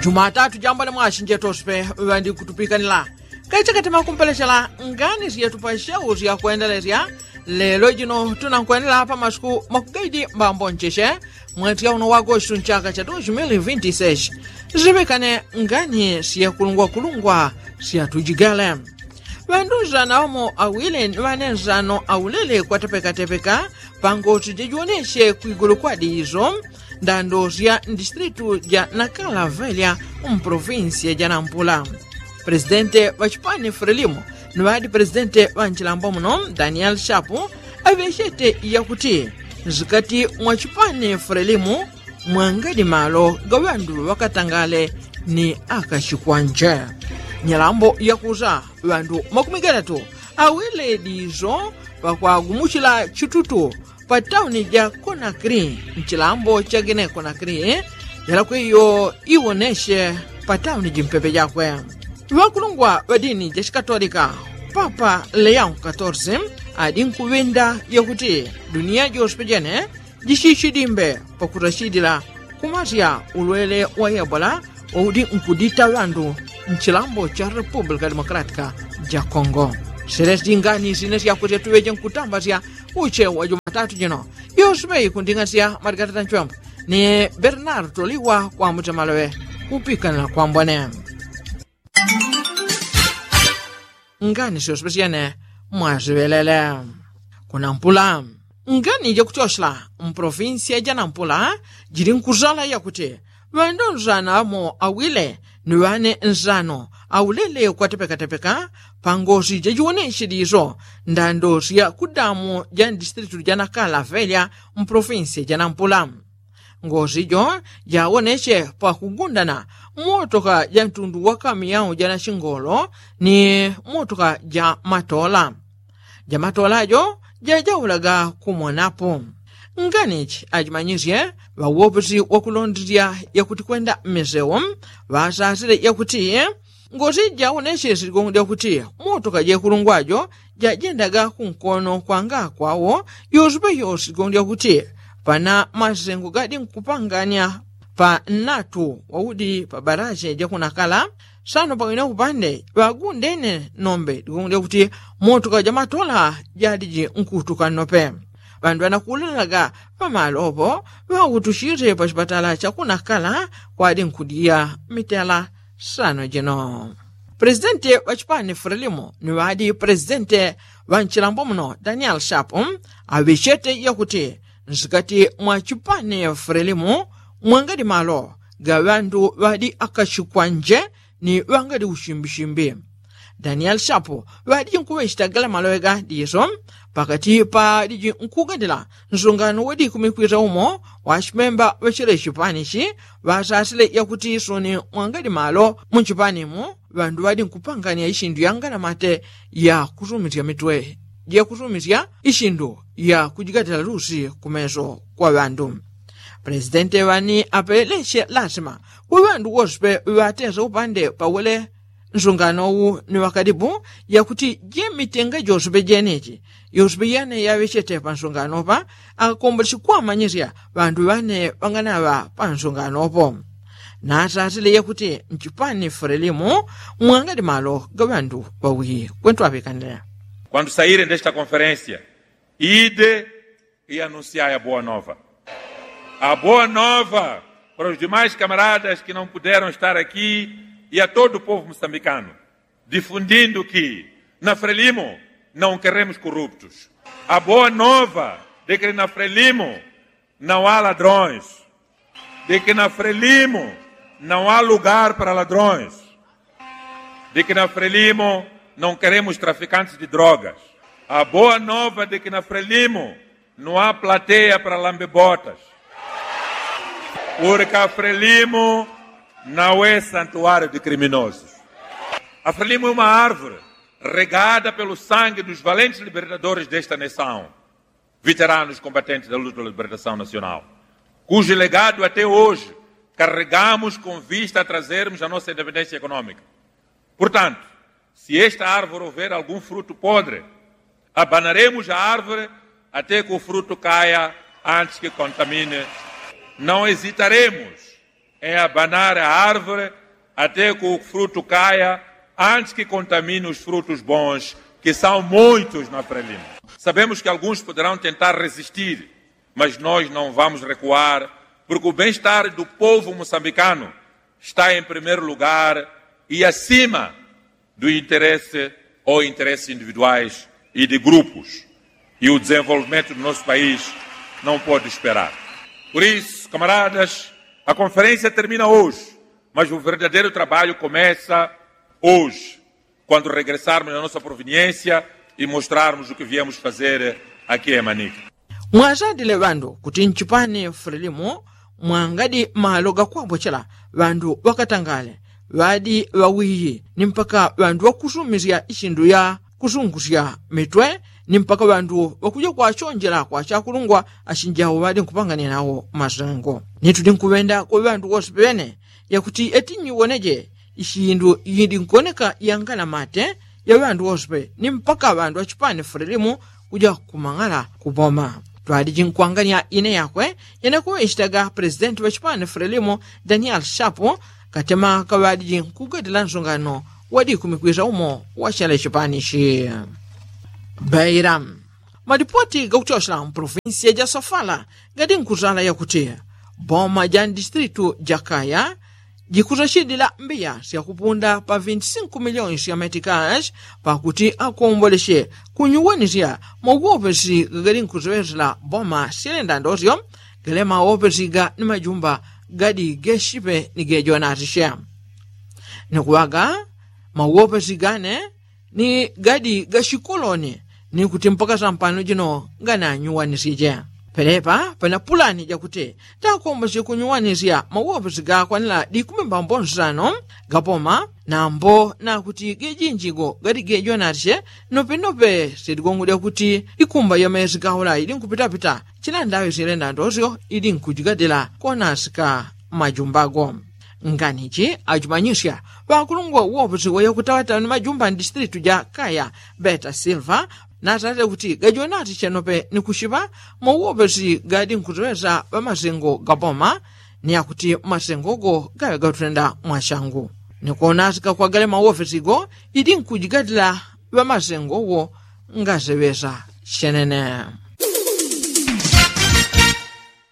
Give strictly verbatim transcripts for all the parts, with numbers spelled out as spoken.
Jumatatu jambone mwashi njetospe ŵandikutupikanila kachakati makumpelechela ngani syetu pa shau syakwendelesya. Lelo jino tunankwenela pa masuku makugaidi mbambo ncheche mweti yauno wagostu nchaka cha dos mil vinti seshi. Ziŵikane ngani syekulungwakulungwa syatujigele. Ŵandu nzano ŵamo awile ni ŵane nzano aulele kwatepekatepeka pangosi jajiwoneshe kwigulu kwa diso ndando sya ndistritu ja nakala velya mpolofinsiya ja nampula. Presidente ŵa chipani frelimo ni ŵadi presidente ŵa nchilambo muno daniel shapu aŵechete yakuti nsikati mwa chipani frelimo mwangadi malo ga ŵandu ŵakatangale ni akachikwanje. Nyalambo yakusa ŵandu makumi gatatu awele diso pakwagumuchila chitutu pa tauni ja konakri nchilambo cha gine konakri yalakwiyo iwoneshe pa tauni jimpepe jakwe. Ŵakulungwa ŵa dini ja chikatolika papa leon katorsi adi nkuŵinda yakuti duniya jose pejene jichichidimbe pakutachidila kumasya ulwele wa ebola waudi nkudita ŵandu nchilambo cha repupulika demokalatika ja kongo. Selesi ngani sine syakusya tuŵeje nkutambasya uche wa jumatatu jino. Yose ŵeyi kunding'asya maligatata nchwembo ni bernardo liwa kwa mutemaloŵe kupikanila kwambone. Ngani syosyosyene mwasiŵelele kunampula. Ngani jakutyoshela mpolofinsiya ja nampula jili nkusala yakuti ŵandu nzano amo awile ni ŵane nzano aulele kwatepekatepeka pangosi jajiwoneshe diso ndando sya kudamu ja ndistritu ja nakala velya mpolofinsiya ja nampula. Ngosi jo jawoneche pakugundana motoka ja ntundu wa kamiyau ja nachingolo ni motoka ja matola. Ja matola jo jajaulaga kumonapo. Nganichi ajimanyisye ŵawopesi wakulondesya yakuti kwenda mmisewo ŵasasile yakuti ngosi jawoneche sigongo dyakuti motoka jekulungwa jo jajendaga kunkono kwanga kwawo. Yosepe yose sigongo dyakuti pana masengo gadi nkupanganya pa nnatu waudi pa barache jakunakala sano pang'wina kupande ŵagundene nombe digongo dyakuti motoka jamatola jadiji nkutuka nnope. Ŵandu ŵanakulalaga pamalopo ŵautuchite pachipatala chakunakala kwadi nkudiya mitela sano jino. Presidente ŵa chipani frelimo ni ŵadi presidente ŵa nchilambo muno daniel shapu aŵechete yakuti nsikati mwa chipani frelimo mwangadi malo ga ŵandu ŵadi akachikwanje ni ŵangadi uchimbichimbi. Daniel shapu ŵadiji nkuŵechita gala maloŵe ga diso pakati padiji nkugandila nsungano wadikumikwisa umo wachimemba ŵachile chipanichi ŵasasile yakuti soni mwangadi malo munchipanimo ŵandu ŵadi nkupangania ishindu yanganamate yakusumisya mitwe jakusumisya ishindu yakujigatila lusi kumeso kwa ŵandu. Presidente ŵani apeleche lasima kwa ŵandu wose pe ŵatesa upande pawele nsungano wu ni ŵakadipu yakuti jemitenga jose pe jeneji yose pe yane yaŵechete pansungano pa akakombolechi kwamanyisya ŵandu ŵane ŵanganaŵa pansungano po. Nasasile yakuti nchipani frelimo mwangadi malo ga ŵandu ŵawi kwentu aŵikanile. Quando sairem desta conferência ide e anunciai a boa nova. A boa nova para os demais camaradas que não puderam estar aqui e a todo o povo moçambicano, difundindo que na frelimo não queremos corruptos. A boa nova de que na frelimo não há ladrões, de que na frelimo não há lugar para ladrões, de que na frelimo não queremos traficantes de drogas. A boa nova de que na frelimo não há plateia para lambebotas, porque a frelimo não é santuário de criminosos. A frelimo é uma árvore regada pelo sangue dos valentes libertadores desta nação, veteranos combatentes da luta pela libertação nacional, cujo legado até hoje carregamos com vista a trazermos a nossa independência econômica. Portanto, se esta árvore houver algum fruto podre, abanaremos a árvore até que o fruto caia antes que contamine. Não hesitaremos É abanar a árvore até que o fruto caia antes que contamine os frutos bons, que são muitos na Frelimo. Sabemos que alguns poderão tentar resistir, mas nós não vamos recuar, porque o bem-estar do povo moçambicano está em primeiro lugar e acima do interesse ou interesses individuais e de grupos. E o desenvolvimento do nosso país não pode esperar. Por isso, camaradas, a conferência termina hoje, mas o verdadeiro trabalho começa hoje, quando regressarmos à nossa proveniência e mostrarmos o que viemos fazer aqui em Manica. Mwazadile ŵandu kuti nchipani fulilimu mwangadi malo gakwabwechela ŵandu ŵakatangale ŵadi ŵawiyi ni mpaka ŵandu ŵakusumisya ichindu ya kusungusya mitwe ni mpaka ŵandu ŵakuja kwachonjela kwa chakulungwa achinjawo ŵadi nkupangania nawo masengo. Ni tudi nkuŵenda kwa ŵandu wose ŵene yakuti eti nyiwoneje ichindu yidi nkuoneka yangana mate ya ŵandu wose ni mpaka ŵandu achipani fulilimu kuja kumang'ala kuboma. Twadiji nkwangania ine yakwe yene kuŵechitaga presidenti ŵachipani fulilimu daniel shapu katema kaŵadiji nkugadila nsungano wadikumikwisa umo wachele chipani chi. Beira. Madipoti gakuchochela mpuluvinsiya ja sofala gadi nkuzala yakuti boma ja ndistritu ja kaya jikuzachidila mbiya syakupunda pa vinti sinku miliyoni sya metikash pakuti akomboleche kunyuwanisya mauwopesi gagali nkuziwesela boma syalenda ndosyo gale mauwopesi ga ni majumba gadi geshipe ni gejonatiche. Ni kuŵaga mauwopesi gane ni gadi gachikoloni ni kuti mpaka sampano jino gananyuwanisije. Pelepa pana pulani jakuti takombosi kunyuwanisya mauwopesi gakwanila dikumi mbambo nsano gapoma nambo nakuti gejinjigo gadi gejonatiche nopenope sidigongwe dyakuti ikumba yamesi gaula idi nkupitapita chila ndaŵi silenda ndosyo idi nkujigadila konasika majumbago. Nganichi achimanyisya ŵakulungwa uwopesi wayakutawatawa ni majumba ndistritu ja kaya beta silva natate kuti gajonati chenope ni kuchiŵa mauwopesi gadi nkuziŵesa ŵamasengo gaboma ni akuti masengogo gaŵe gatutenda mwachangu ni konasika kwagale mauwopesigo idi nkujigadila ŵamasengowo ngaziŵesa chenene.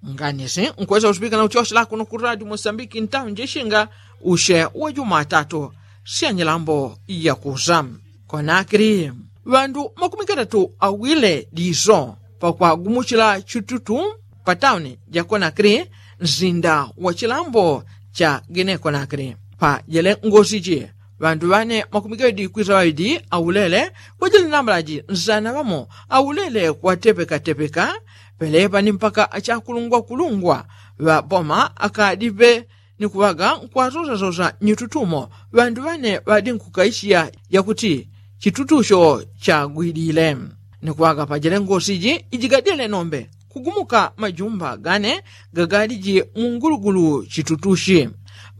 Nganisi nkwesa usipikana uchochela kuno ku radio mosambiki ntauni jechinga uche wa jumatatu syanyilambo yakusa. Konakili ŵandu makumi katatu awile diso pakwagumuchila chitutu pa tauni ja konakili nsinda wa chilambo cha gine konakili. Pa jele ngosi ji ŵandu ŵane makumi gawidi kwisa ŵawidi aulele kwajele nambala ji nsana ŵamo aulele kwatepekatepeka. Pelepa ni mpaka achakulungwakulungwa ŵa boma akadipe ni kuŵaga nkwasosasosa nyitutumo ŵandu ŵane ŵadi nkukaishiya yakuti chitutucho chagwidile. Ni kuŵaga pajele ngosi ji ijigadile nombe kugumuka majumba gane gagadiji mu ngulugulu chitutuchi.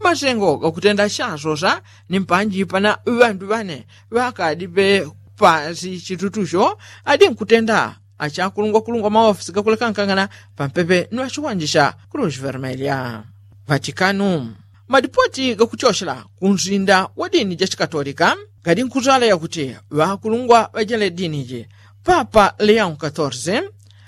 Masengo gakutenda chasosa ni mpanji pana ŵandu ŵane ŵakadipe pasi chitutucho adi nkutenda achakulungwakulungwa maofisi gakulekankangana pampepe ni ŵachiwanja cha cruz vermelha. Vatikanu. Madipoti gakuchochela ku nsinda wa dini ja chikatolika gadi nkuzala yakuti ŵakulungwa ŵajele dini ji papa leon katorze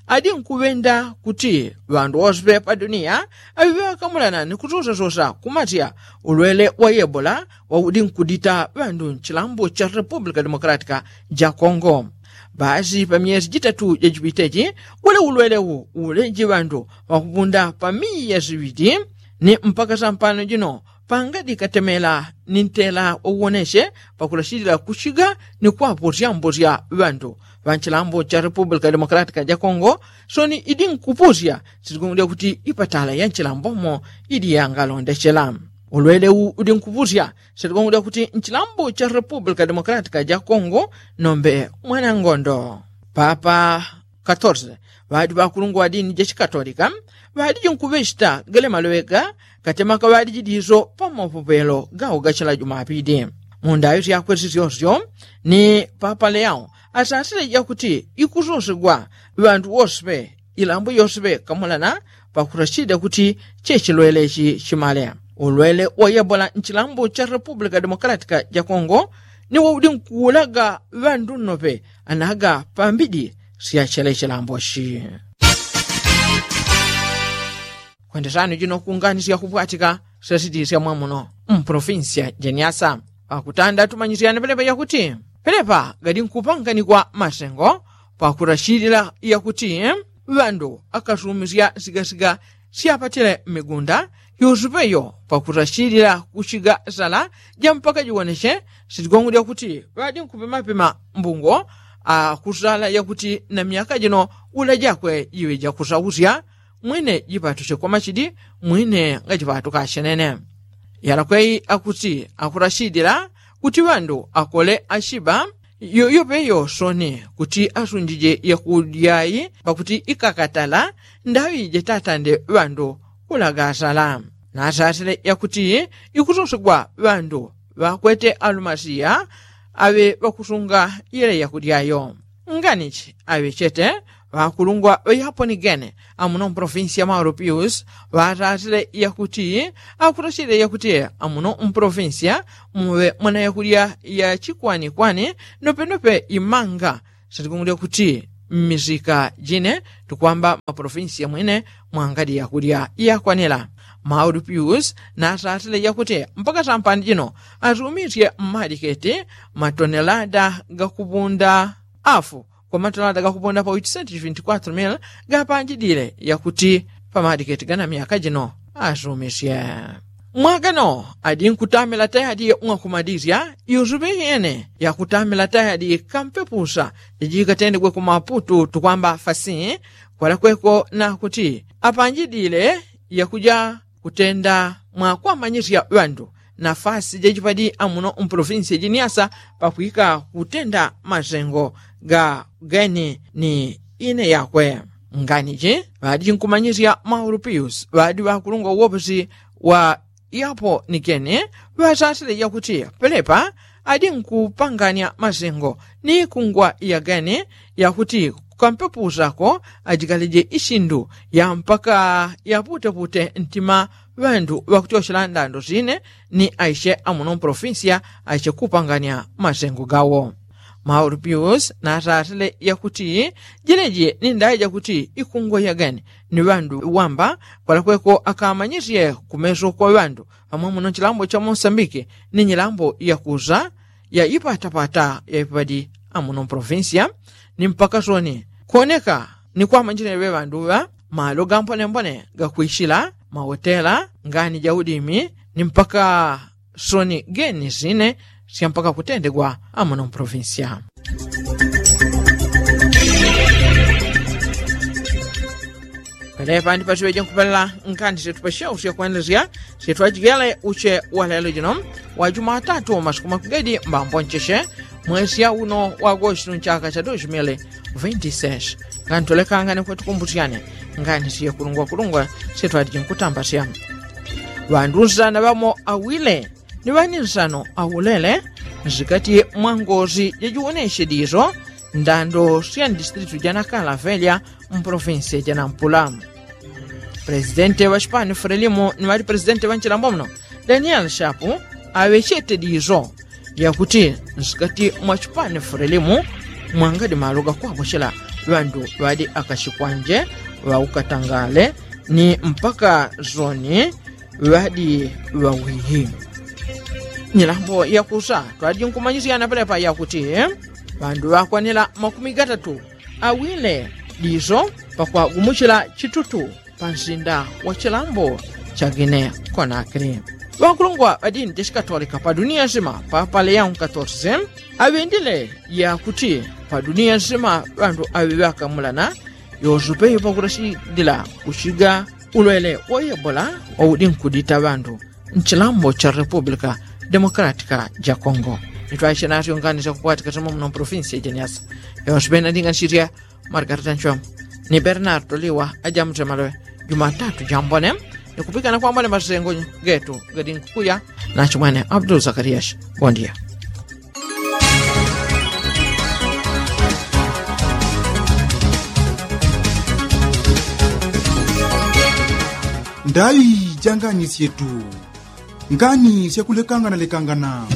adi nkuŵenda kuti ŵandu wose pa dunia aŵiŵe ŵakamulana ni kusosasosa kumasya ulwele wa yebola waudi nkudita ŵandu nchilambo cha repupulika democratika ja kongo. Basi pa myesi jitatu jajipiteji wele ulwele wu uleji ŵandu ŵakupunda pa miya siŵidi ni mpaka sampano jino pangadi katemela ni ntela wauwoneche pakulachilila kuchiga ni kwaposyamposya ŵandu ŵa nchilambo cha repupulika democratika ja kongo. Soni idi nkupusya sitigongolya kuti ipatala ya nchilambomo idi yangalondechela ulwele wu udi nkupusya sitigongolya kuti nchilambo cha repupulika democratika ja kongo nombe mwanangondo papa katorze ŵadi ŵakulungwa wa dini ja chikatolika ŵadiji nkuŵechita gale maloŵe ga katemaka ŵadiji diso pa mapopelo gawo gachila jumapili. Mu ndaŵi syakwe sisyosyo ni papa leao asasile jakuti ikusosegwa ŵandu woseŵe ilambo yoseŵe kamulana pakusachida kuti chechilwele chi chimale. ulwele wa yebola nchilambo cha repupulika demokalatika ja kongo ni waudi nkuulaga ŵandu nnope anaga pambidi sya chele chilamboshi. Kwendesano jino kungani sya kupwatika sya siti sya mwamuno mpolofinsi ya jeniasa pakutanda tumanyisyane pelepa yakuti pelepa gadi nkupanganikwa masengo pakurashilila yakuti ŵandu akasumisya sigasiga syapatile mmigunda yusupeyo pakurashilila kushiga sala ja mpaka jiwonesye sitigongo lyakuti ŵadi nkupimapima mbungo akusala yakuti na myaka jino ula jakwe jiŵe jakusausya mwine jipatuche kwa machidi mwine ngajipatuka ashenene. Yalakweyi akuti akurashidila kuti ŵandu akole ashiba yoyope yosoni kuti asunjije yakudyayi pakuti ikakatala ndaŵi jetatande ŵandu kulagasala nasasile yakuti ikusosegwa ŵandu ŵakwete alumasiya aŵe ŵakusunga yele yakudyayo. Nganichi aŵechete ŵakulungwa ŵayaponigene amuno mpolofinsiya maurupius ŵatatile yakuti akurachile yakuti amuno mpolofinsiya muŵe mwana yakudya yachikwanikwani nopenope imanga sitikungu lyakuti mmisika jine tukwamba mapolofinsiya mwine mwangadi yakudya yakwanila. Maurupius natatile yakuti mpaka sampani jino atumisye mmadiketi matonelada gakupunda afu kwa matonelada gakupunda pa witi senti vinti kwatru mili gapanjidile yakuti pa madiketi gana myaka jino asumisye. Mwagano adi nkutamila tayadi mwakumadisya yusupe yene yakutamila tayadi kampepusa jajikatendegwe ku maputu tukwamba fasi kwalakweko nakuti apanjidile yakuja kutenda mwakwamanyisya ŵandu nafasi jajipadi amuno mpolofinsi jiniasa pakwika kutenda masengo ga geni ni ine yakwe. Nganiji ŵadi nkumanyisya maurupius ŵadi ŵakulungwa uwoposi wa yapo ni geni ŵasasile yakuti pelepa adi nkupanganya masengo ni kungwa ya geni yakuti kukampepusako ajikaleje isindu ya mpaka yaputepute ntima ŵandu ŵakutyoshela ndando sine ni aishe amuno mpolofinsiya aishe kupanganya masengo gawo. Maurupius natatile yakuti jileji ni ndaya jakuti ikungwa ya geni ni ŵandu wamba kwalakweko akamanyisye kumeso kwa ŵandu amwe muno nchilambo cha mosambiki ni nyilambo yakusa ya ipatapata ya ipadi amuno mpolofinsiya ni mpaka soni kuoneka ni kwamanjile ŵe ŵandu ŵa malo gampone mpone gakwishila mawotela ngani ja udimi ni mpaka soni geni sine sya mpaka kutendegwa amuno mpolofinsiya. Pelepa ndi pasiŵeje nkupelela nkani syetu pasyausya kwendelesya syetu ajigele uche wa lelo jino wa jumatatu masiku makugedi mbambo ncheche mwesya uno wa agostu nchaka cha dos mili vinti sesh. Ngani tulekangane kwetukumbusyane ngani siye kulungwakulungwa syetu aliji nkutambasya ŵandu nsana ŵamo awile ni ŵani nsano aulele nsikati mwa ngosi jajiwonesye diso ndando sya ndistritu ja nakala velya mpolofinsiya ja nampula. Presidente ŵa chipani frelimo ni ŵali presidente ŵa nchilambo muno daniel shapu aŵechete diso yakuti nsikati mwa chipani frelimo mwangadi malo gakwapochela ŵandu ŵadi akachikwanje ŵaukatangale ni mpaka zoni ŵadi ŵawihi. Nyilambo yakusa twadi nkumanyisyana pelepa yakuti ŵandu ŵakwanila makumi gatatu awile diso pakwagumuchila chitutu pa nsinda wa chilambo cha gine konakili. Ŵakulungwa ŵa dini ja chikatolika pa dunia nsima papa leon katorse aŵendile yakuti pa dunia nsima ŵandu aŵi ŵakamulana yosupe yopakurashidila kuchiga ulwele wa ebola waudi nkudita ŵandu nchilambo cha repupulika demokalatika ja kongo. Nitwaishe nasyo ngani syakupwatika simo muno mpolofinsi ya jeniasa yonse pena ndinganisirya margarita nchwemo ni bernardo liwa ajamutemalowe jumatatu jambone nikupikana kwambone masengo getu gadi nkukuya nachimwene abdul zakariyashi. Bondia. Ndai janganisyetu. Ngani syakulekangana lekangana.